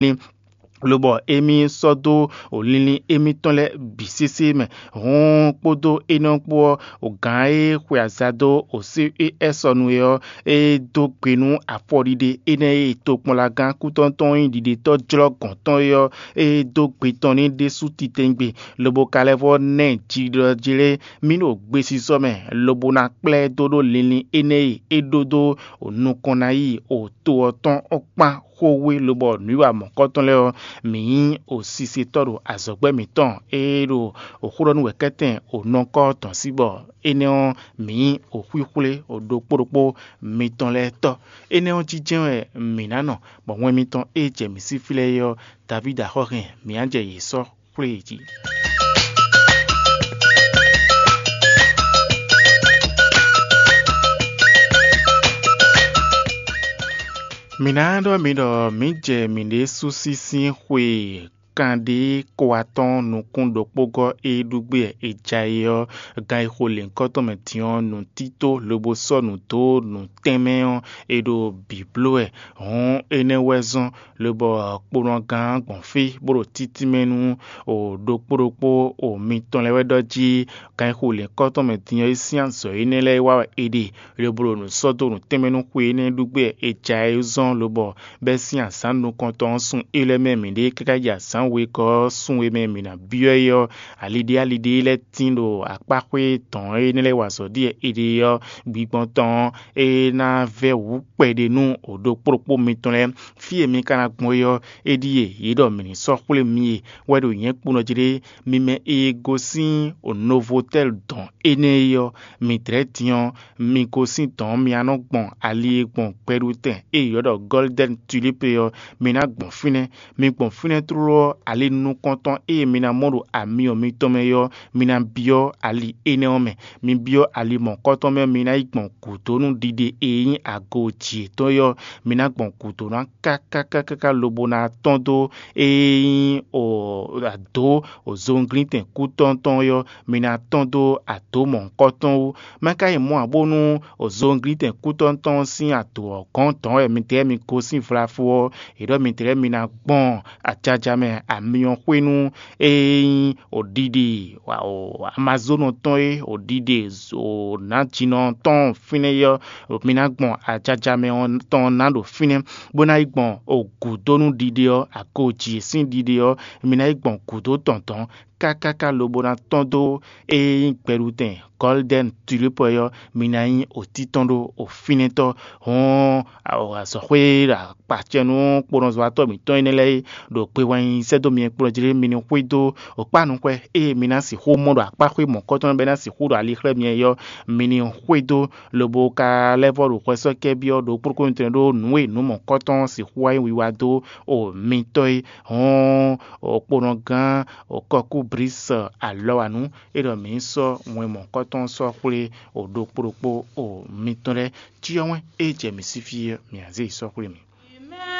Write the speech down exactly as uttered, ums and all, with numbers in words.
lobɔ émí sɔ́ dó linlin émítɔn lɛ́ɛ bǐ sésé mɛ. Hɔn kpódó énɛ́ kpó ɔ́, gǎn e xwe aza dó C E S ɔ́ nu é ɔ́, é dó gbe nú afɔɖiɖe énɛ́ e tokpɔnlagán kútɔ́ntɔn nyí ɖiɖetɔ́ jlɔ́ gɔ̌n tɔn é ɔ́, é dó gbe tɔn n'i ɖésú titewungbe, lobo ka lɛ́ vɔ́ ná ɛ jiɖɔjlé mì ɖo gbesisɔ mɛ, lobo ná kplá ɛ dó ɖó linlin énɛ́ e é ɖó dó nukɔn ná yi to ɔ́ tɔn ɔ́ kpán xówé, lobɔ nǔwiwa mɔ̌kɔtɔn lɛ́ɛ ɔ́, mǐ nyí sisetɔ́ ɖo azɔ̌gbɛ́ mǐtɔn e ɖo xó ɖɔ nú wɛ̌kɛ́tɛn nɔkɔ́ tɔn sí, bɔ énɛ́ ɔ́, mǐ nyí xwíxwlé ɖokpó ɖokpó mitɔn lɛ́ɛ tɔ́. Énɛ́ ɔ́ jínjɛ́n wɛ mǐ ná nɔ, bɔ wɛn mitɔn e jɛ mǐ sí fí lɛ́ɛ é ɔ́, Davídi axɔ́ hɛn mǐ ná jɛ yě sɔ́ xwlé yě jí. Mǐ ná ɖɔ mi ɖɔ mǐ jɛ mǐɖée sú sín sín xwe kanɖé ko atɔ́ɔ́n nukún ɖokpógɔ́ e ɖu gbé e ja é ɔ́, gan e xo lěhunkɔtɔn mɛ din ɔ́, nǔtító lobo sɔ́ nǔ dó nǔ tɛnmɛ ɔ́, è ɖo bǐ bló wɛ. Hɔn énɛ́ wɛ zɔ́n lobɔ kponɔgán gbɔn fí bó ɖo títínmɛ nú ɖokpó ɖokpó mitɔn lɛ́ɛ wɛ ɖɔ jí gan e xo lěhunkɔtɔn mɛ din ɔ́ é sín azɔ̌ énɛ́ lɛ́ɛ wá wɛ è ɖe, lobo ɖo nǔ sɔ́ dó nǔ tɛnmɛ nú xwe énɛ́ ɖu gbé e ja é zɔ́n lobɔ bɛ́ sín azǎn nukɔntɔn ɔ́ sun é lɛ́ɛ mɛ mǐɖée káká yi azǎn wegɔ́ ɔ́ sun e mɛ mǐ ná byɔ́ é ɔ́, aliɖé aliɖé lɛ́ɛ tín ɖo akpáxwé dɔ̌n e é lɛ́ wa azɔ̌ ɖíe è ɖe ɔ́ gbigbɔn tɔn ɔ́, é ná vɛ́ wǔ kpɛɖé nú ɖokpó ɖokpó mitɔn lɛ́ɛ. Fí e mi ka ná gbɔn é ɔ́, é ɖíe yě ɖɔ mǐ ní sɔ́ xwlé mi e wɛ ɖo nyɛ̌ kponɔ jí ɖé. Mi mɛ e gosín Novotɛ́li dɔ̌n énɛ́ é ɔ́, mi dlɛ̌ din ɔ́, mi gosín dɔ̌n mi ná nɔ gbɔn ali e gbɔn gbɛɖutɛn e è ylɔ́ ɖɔ Gɔ́lidɛ́ni Tulípu é ɔ́, mi ná gbɔn fínɛ́. Mi gbɔn fínɛ́ tlóló ɔ́, ali nukɔntɔn e mi ná mɔ ɖo amyɔ mitɔn mɛ é ɔ́, mi ná byɔ́ ali énɛ́ ɔ́ mɛ. Mi byɔ́ ali mɔ̌kɔtɔn mɛ, mi ná yi gbɔn gǔdo nú ɖiɖe e nyí ago jǐ yětɔn é ɔ́, mi ná gbɔn gǔdo ná káká káká lobo ná tɔ́n dó e nyí adǒ zɔnglíntɛn kútɔ́ntɔn é ɔ́, mi ná tɔ́n dó adǒ mɔ̌hunkɔtɔn wú. Má ka yi mɔ ǎ bónú zɔnglíntɛn kútɔ́ntɔn sín adǒ ɔ́ gɔ́n dɔ̌n wɛ midɛɛ mi gosín vlafo ɔ́, è ɖɔ midɛɛ mi ná gbɔn ajaja mɛ amyɔ xwé nú e nyí ɖiɖe Amazonu tɔn e ɖiɖe nǎjínɔ tɔn fínɛ́ é ɔ́, mi ná gbɔn ajaja mɛ tɔn ná ɖo fínɛ́, bó ná yi gbɔn gǔdo nú ɖiɖe ɔ́, ago jǐ sín ɖiɖe ɔ́, mi ná yi gbɔn gǔdo tɔn dɔ̌n kákáká lobo ná tɔ́n dó e nyí gbɛɖutɛn Gɔ́lidɛ́ni Tulípu é ɔ́, mi ná nyí òtítɔn ɖó òfínɛ́tɔ́. Hɔn azɔ̌xwé ɖo akpacɛ nú kponɔzɔ́watɔ́ mǐtɔn énɛ́ lɛ́ɛ e ɖo gbe wɛn nyi sɛ́ dó mi kplɔ́n jí lé, mi ní xwedó òkpánuxwɛ e mi ná sixú mɔ ɖo akpáxwé mɔ̌kɔtɔn bɛ́ ná sixú ɖo ali xlɛ́ mi ɔ́, mi ní xwedó lobo ka lɛ́ vɔ́ ɖo xwɛsɔ́kɛ́ byɔ́ ɖo kplɔ́kpó mitɔn ɖó nǔ e nǔ mɔ̌kɔtɔn sixú wá nyí wiwa dó o mitɔ́ é. Hɔn okponɔgán Kɔkúblísi alɔwanu é ɖɔ mǐ ní sɔ́ wɛn mɔ̌kɔtɔn sɔ́ xwlé ɖokpó ɖokpó mitɔn lɛ́ɛ. Cyɔ wɛn e jɛ mǐ sí fí ɔ́, mǐ ná zé yi sɔ́ xwlé mì.